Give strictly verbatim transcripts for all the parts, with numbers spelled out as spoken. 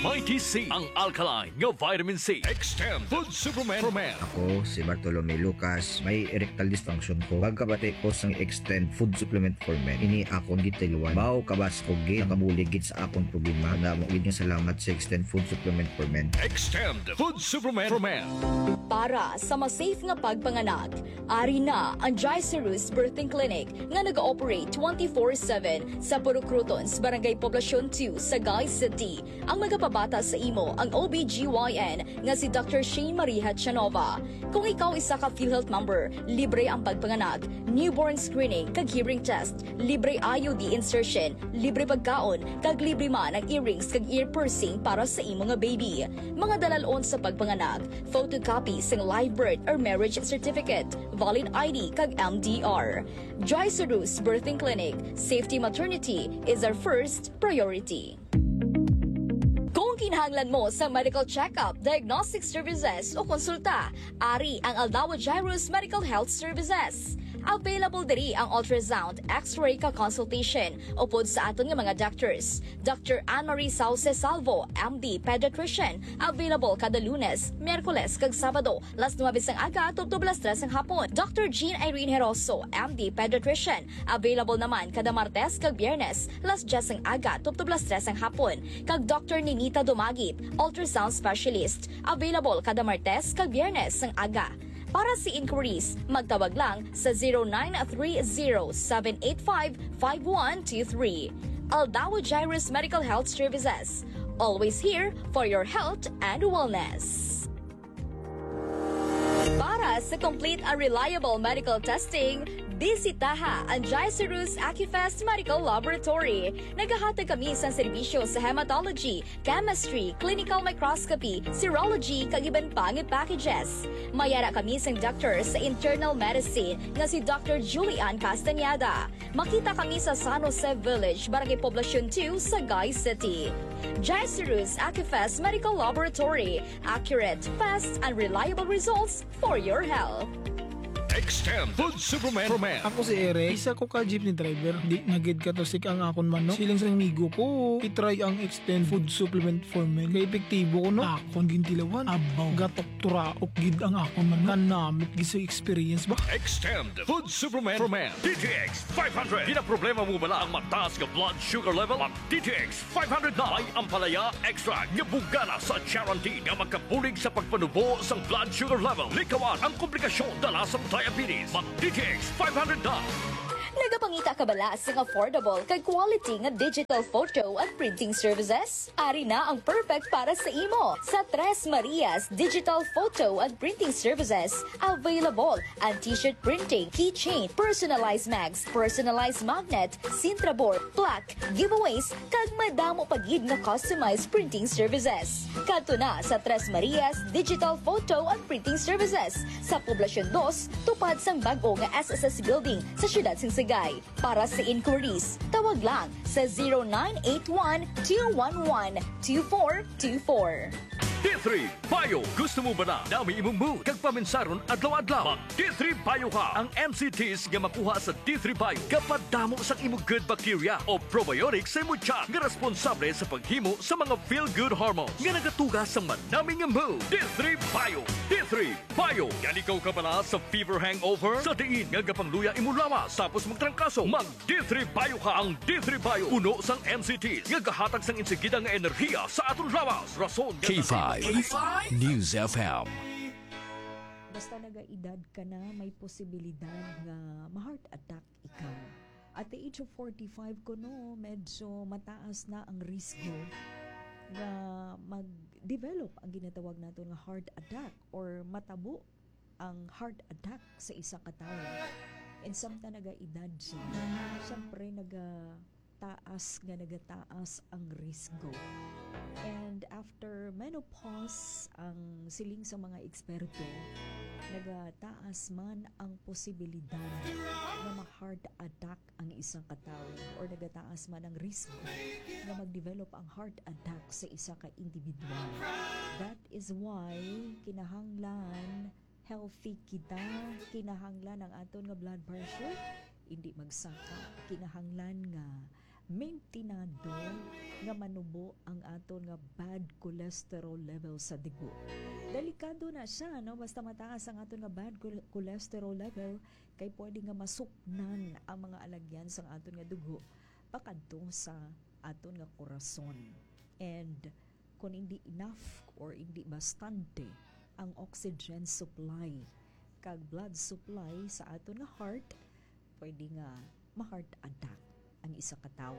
Mighty C, ang alkaline nga vitamin C. Extend Food Supplement for Men. Ako si Bartolome Lucas. May erectile dysfunction ko. Pagkabati ko sang Extend Food Supplement for Men, ini akon gitiluan. Baw kabas ko gid, nakabulig gid sa akon problema. Damo gid nga salamat sa Extend Food Supplement for Men. Extend Food Supplement for Men. Para sa mas safe nga pagpanganak, ari na ang Gicerus Birthing Clinic nga nag-ooperate twenty-four seven sa Purok Crotons, Barangay Poblacion two, Sagay City. Ang magapabata sa imo ang O B G Y N nga si Doctor Shane Marie Hachanova. Kung ikaw isa ka PhilHealth member, libre ang pagpanganak, newborn screening, kag hearing test, libre I U D insertion, libre pagkaon, kag libre man ang earrings kag ear piercing para sa imo nga baby. Mga dalalon sa pagpanganak: photocopy sang live birth or marriage certificate, valid I D, kag M D R. Joy Sarus Birthing Clinic, safety maternity is our first priority. Kung kinahanglan mo sa medical check-up, diagnostic services, o konsulta, ari ang Aldawa Jairus Medical Health Services. Available diri ang ultrasound, X-ray, ka consultation upod sa aton nga mga doctors. Doctor Anne Marie Sauce Salvo, M D, pediatrician, available kada Lunes, Miyerkules, kag Sabado, las nuebe sang aga tubtob las tres sang hapon. Doctor Jean Irene Heroso, M D, pediatrician, available naman kada Martes kag Biyernes, las diyes sang aga tubtob las tres sang hapon. Kag Doctor Ninita Dumagit, ultrasound specialist, available kada Martes kag Biyernes sang aga. Para sa inquiries, magtawag lang sa zero nine three zero seven eight five five one two three. Aldawa Jairus Medical Health Services, always here for your health and wellness. Para sa complete and reliable medical testing, bisitaha ang Jairus Acufest Medical Laboratory. Nagahatag kami sa serbisyo sa hematology, chemistry, clinical microscopy, serology, kag iban pa nga packages. May ara kami sang doctor sa internal medicine nga si Doctor Julian Castañeda. Makita kami sa San Jose Village, Barangay Poblacion two, Sagay City. Jairus Acufest Medical Laboratory, accurate, fast, and reliable results for your health. Extend Food Supplement for Men. Ako si Eric, isa ko ka jeepney driver. Di na gid katusik ang akon manok. Siling sa amigo ko, i-try ang Extend Food Supplement for Men. Kay epektibo ko, no? Akon gintilawan. Abaw, gatok turaok gid ang akon manok. Kanamit gid sa experience ba? Extend Food Supplement for Men. D T X five hundred. Ginaproblema mo bala ang mataas nga blood sugar level? Mag D T X five hundred na. May ampalaya extract nga bugana sa charantin nga makabulig sa pagpanubo sang blood sugar level. Likawan ang komplikasyon dala sang diabetes. Mag D T X five hundred na. Nagapangita ka bala sang affordable kag quality nga digital photo and printing services? Ari na ang perfect para sa imo. Sa Tres Marias Digital Photo and Printing Services, available ang t-shirt printing, keychain, personalized mags, personalized magnet, Sintra board, plaque, giveaways, kag madamo pa gid nga customized printing services. Kadto na sa Tres Marias Digital Photo and Printing Services sa Poblacion dos, tupad sang bag-o nga S S S Building sa siyudad sang Sagay. Para sa inquiries, tawag lang sa zero nine eight one two one one two four two four. D three Bio. Gusto mo ba na dami imong mood kag paminsaron adlaw-adlaw? Mag D three Bio ka. Ang M C Ts nga makuha sa D three Bio gapadamo sang imo good bacteria o probiotics sa imo tiyan nga responsable sa paghimo sa mga feel-good hormones nga nagatuga sa manami nga mood. D three Bio. D three Bio. Nalikaw ka bala sa fever hangover? Sa diin nga gapangluya imo lawas tapos magtrangkaso? Mag D three Bio ka. Ang D three Bio puno sang M C Ts nga gahatag sang insigida nga enerhiya sa aton lawas. Rason nga K five News F M. Basta nagaedad ka na, may posibilidad nga ma-heart attack ikaw. At the age of forty-five kuno, medyo mataas na ang risgo nga mag-develop ang ginatawag naton nga heart attack or matabo ang heart attack sa isa ka tawo. And samtang nagaedad siya, syempre nagataas nga nagataas ang risgo. And after menopause, ang siling sa mga eksperto, nagataas man ang posibilidad nga ma-heart attack ang isang katawo or nagataas man ang risgo nga mag-develop ang heart attack sa isa ka individual. That is why kinahanglan healthy kita, kinahanglan ang aton nga blood pressure hindi magsaka, kinahanglan nga Maintinado nga manubo ang aton nga bad cholesterol level sa dugo. Delikado na siya, no? Basta mataas ang aton nga bad chol-, cholesterol level, kay pwede nga masuknan ang mga alagyan sang aton nga dugo pakadto sa aton nga korason. And kung hindi enough or hindi bastante ang oxygen supply kag blood supply sa aton nga heart, pwede nga ma-heart attack ang isa ka tawo.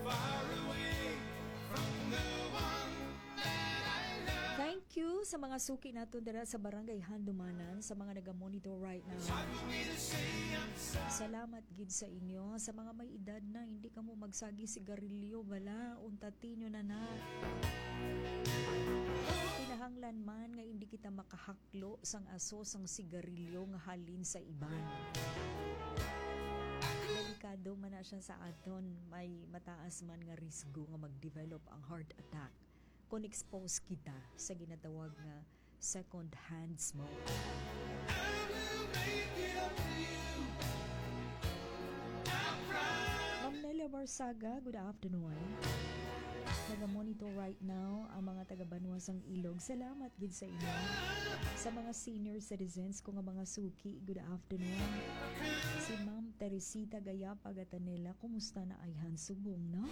Far away from the one that I love. Thank you sa mga suki naton dira sa Barangay Handumanan, sa mga naga-monitor right now. It's hard for me to say I'm sorry. Salamat gid sa inyo. Sa mga may edad na, hindi kamo magsagi sigarilyo, bala, unta tinyo na na. Kinahanglan man nga hindi kita makahaklo sang aso sang sigarilyo nga halin sa iban. Delikado man na siya sa aton, may mataas man nga risgo nga mag-develop ang heart attack kung expose kita sa ginatawag nga second hand smoke. I will make it up to you. I promise. Ma'am Nelia Barsaga, good afternoon. Naga-monitor right now ang mga taga-Banwa sang Ilog. Salamat gid sa inyo. Sa mga senior citizens ko nga mga suki, good afternoon. Si Ma'am Teresita Gayapa Gatanela, kumusta na ayhan subong, no?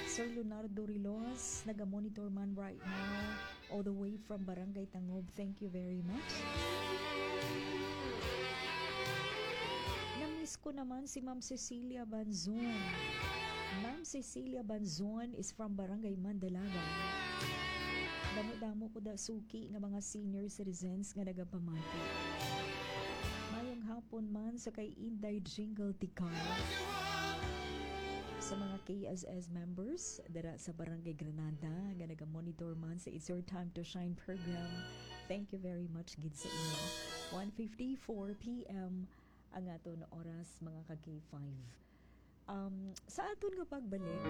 Sir Leonardo Rilos, naga-monitor man right now, all the way from Barangay Tangob. Thank you very much. Na-miss ko naman si Ma'am Cecilia Banzon. Ma'am Cecilia Banzon is from Barangay Mandalaga. Damo-damo ko da suki nga mga senior citizens nga nagapamati. Mayong hapon man sa kay Inday Jingle Tikar. Sa mga K S S members dira sa Barangay Granada nga naga-monitor man sa It's Your Time to Shine program, thank you very much gid sa inyo. One fifty-four P M ang aton oras, mga ka K five. Um, sa aton nga pagbalik,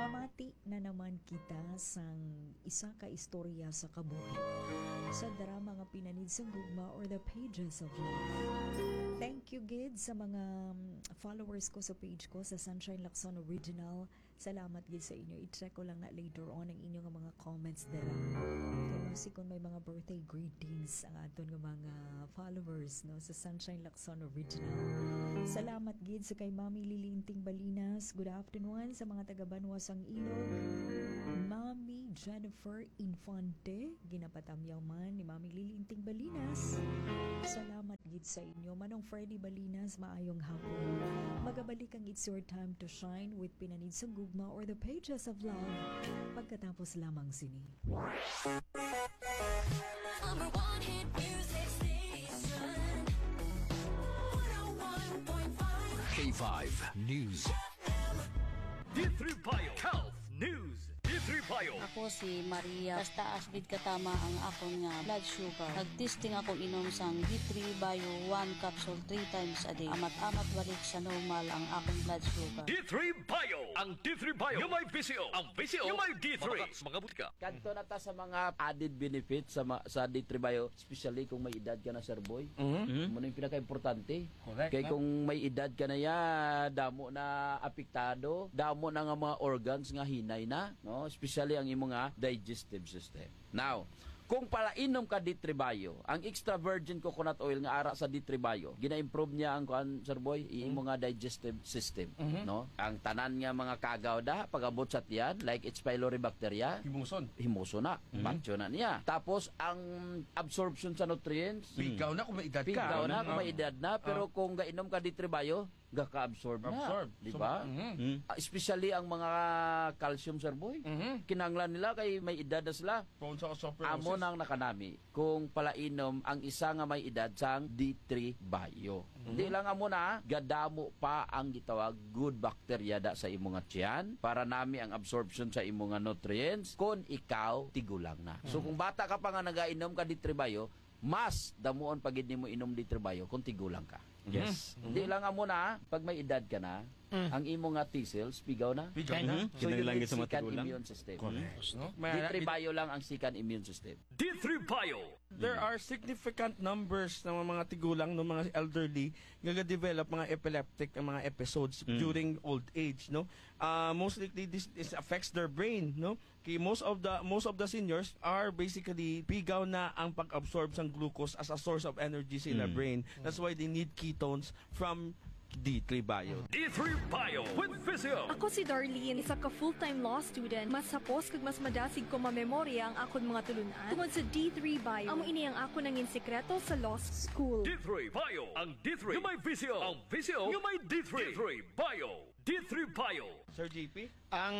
mamati na naman kita sang isa ka istorya sa kabuhi sa drama nga Pinanid sang Gugma or The Pages of Love. Thank you gid sa mga, um, followers ko sa page ko sa Sunshine Lacson Original. Salamat gid sa inyo. I-check ko lang na later on ang inyo nga mga comments dira. Kay basi kung may mga birthday greetings ang aton nga mga followers, no, sa Sunshine Lacson Original. Salamat gid sa kay Mami Lilinting Balinas. Good afternoon sa mga taga Banwa sang Ilog. Mami Jennifer Infante, ginapatamyaw man ni Mami Lilinting Balinas. Salamat gid sa inyo. Manong Freddy Balinas, maayong hapon. Magabalik ang It's Your Time to Shine with Pinanid sang Gugma or The Pages of Love pagkatapos lamang sini. Number one hit music station. One oh one point five K five News. D three Bio Health News. D three Bio. Ako si Maria. Taas-taas gid katama ang akon nga blood sugar. Nag-testing ako inom sang D three Bio one capsule three times a day. Amat-amat balik sa normal ang akon blood sugar. D three Bio. Ang D three Bio nga may V C O. Ang V C O nga may D three. Matatak sa mga butika. Kadto na ta sa mga added benefits sa ma-, sa D three Bio, especially kung may edad ka na, Sir Boy. Mhm. Amo na yung pinaka-importante. Correct, kay no? Kung may edad ka na ya, damo na apektado, damo na nga mga organs nga hinay na, no? Especially ang imo nga digestive system. Now, kung palainom ka D three Bio, ang extra virgin coconut oil nga ara sa D three Bio, gina-improve niya ang kuan, Sir Boy, i-, imo nga digestive system, mhm, no? Ang tanan nga mga kagaw da, pag-abot sa tiyan, like H. pylori bacteria, himuson, himuson na, mhm, patyo na niya. Tapos, ang absorption sa nutrients, pigaw na kung may edad ka. Pigaw na kung may edad na, pero kung gainom ka D three Bio, gaka-absorb na, absorb, di ba? So, mhm. Mm. Ah, especially ang mga calcium, Sir Boy. Mhm. Kinahanglan nila kay may edad na sila. Prone sa osteoporosis. Amo nang nakanami kung palainom ang isa nga may edad sang D three Bio. Mhm. Di lang amo na, gadamo pa ang gitawag good bacteria da sa imo nga tiyan para nami ang absorption sa imo nga nutrients kung ikaw tigulang na. So, mhm, kung bata ka pa nga nagainom ka D three Bio, mas damuon pa gid nimo inom D three Bio kung tigulang ka. Yes. Mhm. Di lang amo na, pag may edad ka na, mm, ang imo nga T cells, pigaw na. Pigaw na. Mhm. So, you need second immune system. Correct. No? D three Bio lang ang second immune system. D three Bio. There Mm. are significant numbers ng mga tigulang, no, mga elderly, nga ga-develop mga epileptic ang mga episodes Mm. during old age, no? Ah, most likely, this, this affects their brain, no? Kay most of the, most of the seniors are basically pigaw na ang pag-absorb sang glucose as a source of energy sa ila Mm. brain. That's why they need ketones from D three Bio. D three Bio with Physio. Ako si Darlene, isa ka full-time law student. Mas hapos kag mas madasig ko mamemorya ang akon mga tulunan tungod sa D three Bio. Amo ini ang akon nangin sikreto sa law school. D three Bio, ang D three nga may visyo, ang visyo nga may D three. D three Bio. D three Bio. Sir J P? Ang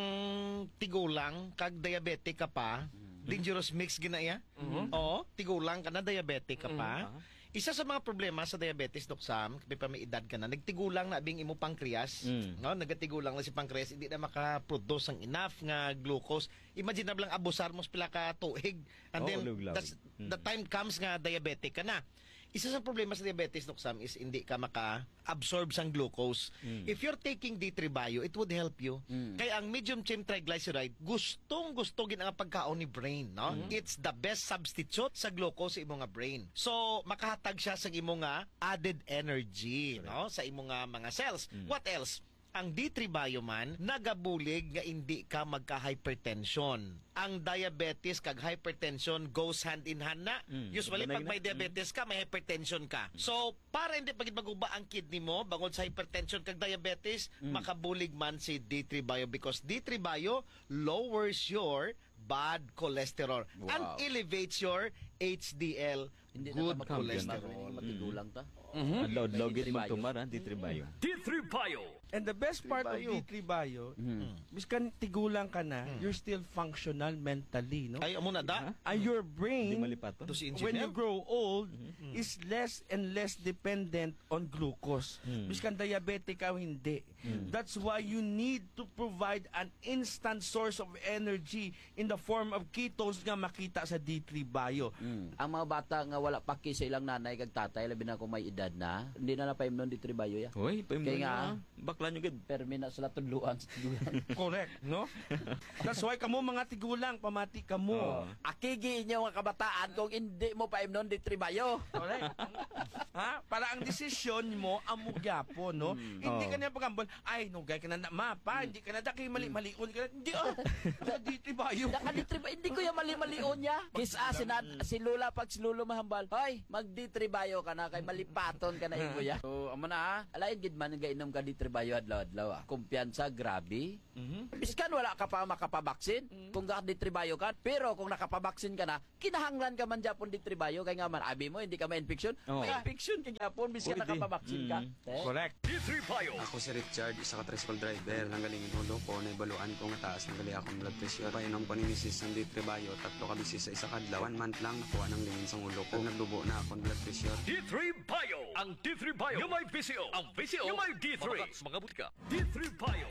tigulang kag diabetic ka pa, Mm. dangerous mix gina iya. Mhm. Oo, tigulang ka na, diabetic ka pa. Mm. Aha. Isa sa mga problema sa diabetes, Doc Sam, kapin pa may edad ka na, nagtigulang na bing imo pancreas, Mm. no? Nagatigulang na si pancreas, hindi na makaproduce ang enough nga glucose. Imagine na lang abusar mo sa pila ka tuig. And Oo, then, luglaw. that's, Mm. the time comes nga diabetic ka na. Isa sa problema sa diabetes, Doc Sam, is hindi ka maka-absorb sang glucose. Mm. If you're taking D three Bio, it would help you. Mm. Kay ang medium chain triglyceride, gustong-gusto gid ang pagkaon ni brain, no? Mm. It's the best substitute sa glucose sa imo nga brain. So, makahatag siya sa imo nga added energy, Correct. no? Sa imo nga mga cells. Mm. What else? Ang D three Bio man, nagabulig nga hindi ka magka-hypertension. Ang diabetes kag hypertension goes hand in hand na. Mm. Usually, Sabay pag na may yun. diabetes ka, may hypertension ka. Mm. So, para hindi pa gid maguba ang kidney mo, bangod sa hypertension kag diabetes, Mm. makabulig man si D three Bio because D three Bio lowers your bad cholesterol and Wow. elevates your H D L Hindi na good ta magkampiyon, cholesterol. Hindi matigulang ta. Mhm. Adlaw-adlaw gid magtumar, ha, D three Bio. D three Bio. And the best part of D three Bio, Mm. miskan tigulang ka na, Mm. you're still functional mentally, no? Ay, amo na da. Ha? And your brain, Hindi malipaton. To si when you engineer? grow old, Mm. is less and less dependent on glucose. Mm. Miskan diabetic ka o hindi. Mm. That's why you need to provide an instant source of energy in the form of ketones nga makita sa D three Bio. Mm. Ang mga bata nga wala paki sa ilang nanay kag tatay, labi na kung may edad na, hindi na napaimnon D three Bio, ya. Hoy, paimnon Kaya nga, na. Bakla nyo gid. Permi na sila tudloan sa tudloan. Correct, no? That's why kamo mga tigulang, pamati kamo. Oo. Akigi inyo nga kabataan kung hindi mo paimnon D three Bio. Correct. Ha? Para ang desisyon mo, amo gyapon, no? Mm. Hindi Oo. ka niya pagambol, "Ay, nugay ka na, na, ma, pa, Mm. hindi ka na da, kay mali-malion ka na." Hindi, ah. Sa D three Bio. Naka-D three Bio, hindi ko yung mali-malion niya. Kis-a, si nad-, si Lola, pag si Lolo mahambal, "Hoy, mag-D three Bio ka na, kay malipaton ka na, imo ya." So, amo na, ha? Alain gid man nga inom ka D three Bio adlaw-adlaw, ah. Kumpiyansa, grabe. Mhm. Biskan wala ka pa makapabaksin, Mm. kung ga-D three Bio ka, pero kung nakapabaksin ka na, kinahanglan ka man gyapon D three Bio, kay nga man, abi mo, hindi ka ma-infection. Oh. Ma-infection ka gyapon, biskan Pwede. nakapabaksin ka. Mm. Eh? Correct. D three Bio. Ako si Richard, isa ka tricycle driver. Nanggaling ang ulo ko, naibaluan ko nga taas nanggali akong blood pressure. Painom ko ni misis ang D three Bio, tatlo ka beses sa isa ka adlaw. One month lang, nakuha nang lingin sang ulo ko. Nagdubo na akong blood pressure. D three Bio. Ang D three Bio. Yung may visyo. Ang visyo. Yung may D three. Mga butika. D three Bio.